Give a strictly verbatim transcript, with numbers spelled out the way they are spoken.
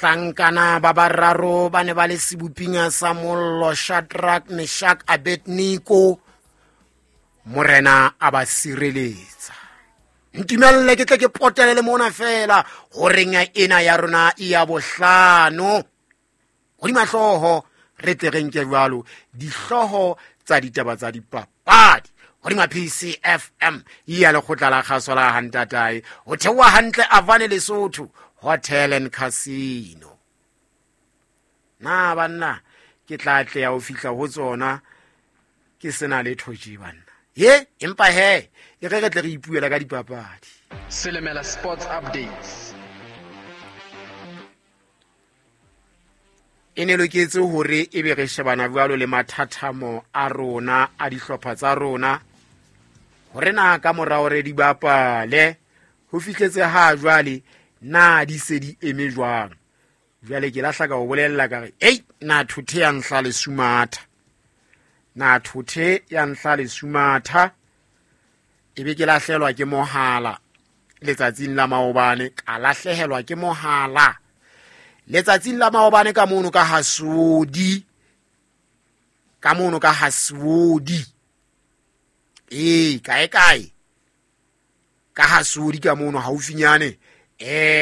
Bahlankana ba bararo ba ne ba le seboping sa mollo, Shadrach, Meshach, Abednego. Morena a ba sireletsa. Ntumelle ke tle ke potele le mona fela horeng ena ya rona ya bohlano. Hodima hlooho re tle re nke jwalo dihlooho tsa ditaba tsa dipapadi hodima P C F M ya lekgotla la kgaso la Hantatae ho theoha hantle Avane Lesotho Hotel and Casino. Na banna ke tla tleha ho fihla ho tsona ke sena letho tje banna. Ye empa he e re re tle re ipuela ka dipapadi. Selemela Sports Updates. E ne loketse hore e be re shebana jwalo le mathathamo a rona a dihlopha tsa rona hore na ka mora hore di bapale ho fihletse ha jwale na di se di eme jwang. Jwale ke lahla ka o bolella ka re ei na thothe ya nhla le sumatha, na thothe ya nhla le sumatha. E be ke lahlehelwa ke mohala letsatsing la maobane, ka lahlehelwa ke mohala letsatsing la maobane ka mono ka Hasodi, ka mono ka Hasodi. Ee, kae kae ka Hasodi ka mono haufinyane. Eh